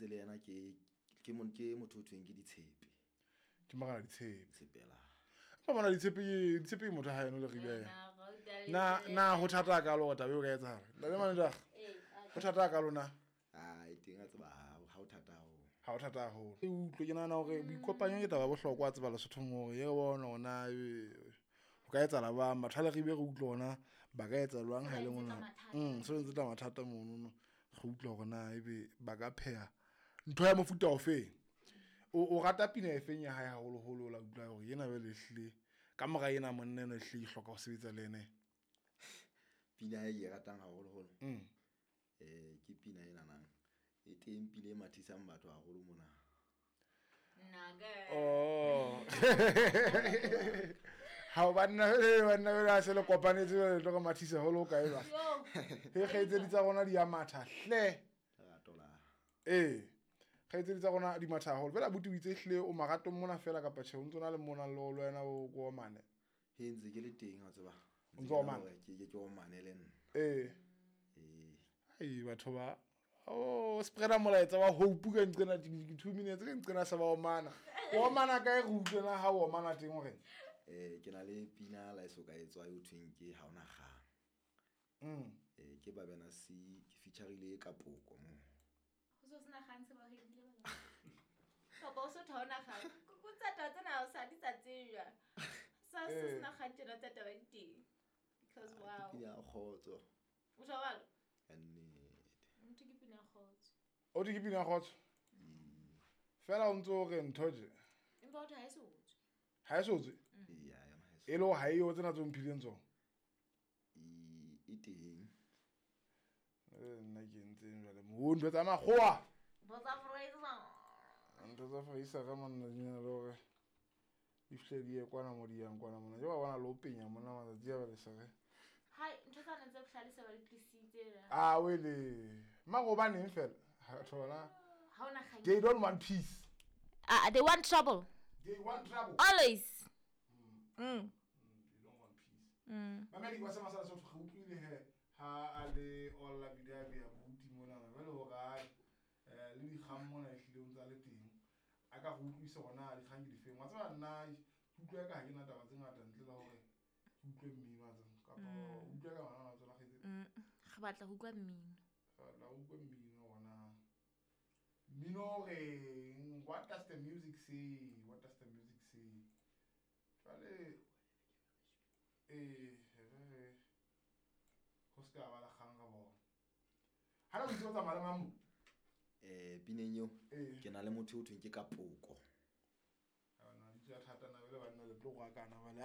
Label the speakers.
Speaker 1: le yena ke motho o thweng ke Ditshepe.
Speaker 2: Ke Morena Ditshepe.
Speaker 1: Tshepela.
Speaker 2: Empa mona Ditshepe ke Ditshepe ke motho ha eno le Ribe. Na ho thata ka lo taba eo ka etsahala. Ntate manager. Ho thata ka lona.
Speaker 1: Ah, e teng a tseba ha ho thata haholo.
Speaker 2: Ha ho thata haholo. E utlwe ke nahana hore boikopanyo ke taba ya bohlokwa a tseba Lesothong hore ye re bone hore na ho ka etsahala bang batho ha le Ribe re utlwe hore na ba ka etsa jwang ha e le mona. Se ntse tla mathata mono re utlwe hore na ebe ba ka pheha ntho ya mofuta ofeng. O rata pina e feng ya hae haholoholo la utlwa hore yena jwale ehlile ka mora ena monna ena ehlile ke hloka ho sebetsa le ene.
Speaker 1: Pina e ke e ratang haholoholo. Ke pina ena nang. E teng pina e mathisang batho haholo mona.
Speaker 2: Oh. Ha banna banna se le kopanetse le tlo re mathisa holo kae ba. He kgaitsedi tsa rona di ya matha hle.
Speaker 1: Lerato la.
Speaker 2: Eh. Kgaitsedi tsa rona di matha haholo. Fela abuti o itse hle o maratong mona fela kapa tjhe o ntso na le mona le wena o ko omane.
Speaker 1: He ntse ke le teng wa tseba.
Speaker 2: O ntso omane.
Speaker 1: Ke omane le nna.
Speaker 2: Eh.
Speaker 1: Eh.
Speaker 2: Ai batho ba o spreada molaetsa wa hope ka nqena 2 minutes ka nqena sa ba omana. O omana kae re utlwe na ha o omana teng hore?
Speaker 1: Ke na le pina la eso ka etswa e thweng ke ha ona kgang. Ke Babena C ke featureile ka poko mo.
Speaker 3: Ho so sena kgang se ba redile ba. Kapa o so tha ona kgang. Go tsa taba tsena o sa di tsa tsejwa. Sa se sena kgang tjena tsa taba di teng. Because wow.
Speaker 1: Ke pina ya kgotso.
Speaker 3: O jwalo?
Speaker 1: Nnete.
Speaker 3: Motho ke pina ya kgotso.
Speaker 2: O di ke pina ya kgotso? Fela o ntso re ntho je.
Speaker 3: Empa o tha e so tswe.
Speaker 2: Ha e so tswe?
Speaker 1: Ya, yona ha e so.
Speaker 2: E le ha e yo tsena tso mphileng tsona.
Speaker 1: E teng.
Speaker 2: Nna ke ntseng jwale mo ntho tsa makgowa.
Speaker 3: Ntho tsa Fraser.
Speaker 2: Ntho tsa Fraser ka monna di na le hore di fihle di ye kwana mo di yang kwana mona. Ke ba bona le ho penya mona matsatsi a ba le sere.
Speaker 3: Hai, ntho tsa ntse bohlale se ba di tlisitse la.
Speaker 2: Ah, wele. Mara hobaneng fela? Ha thola.
Speaker 3: Ha ona kgang.
Speaker 2: They don't want peace.
Speaker 3: Ah, they want trouble.
Speaker 2: They want trouble.
Speaker 3: Always.
Speaker 2: They don't want peace. Mamedi wa sama sa so re utlwile he ha a le all la video ya buti mona na jwale hore ai le dikgang mona ehlile o ntsa le teng. A ka go utlwisa hore na dikgang ke difeng. Wa tseba nna ke utlwa ka ha ke na taba tse ngata ntle le hore ke utlwe mmino wa tseba kapa o utlwa ka ngwana wa tsona kgetse.
Speaker 3: Re batla ho utlwa mmino.
Speaker 2: Re batla ho utlwa mmino hona. Mmino reng? What does the music say? What does the music say? Jwale re ho ska ba la kgang ka bona. Ha re botsa tsamaya le mang mo?
Speaker 1: Pineng eo ke na le motho o thweng ke ka poko.
Speaker 2: Ha na di tsa thata na le banna le tlo go akana ba le.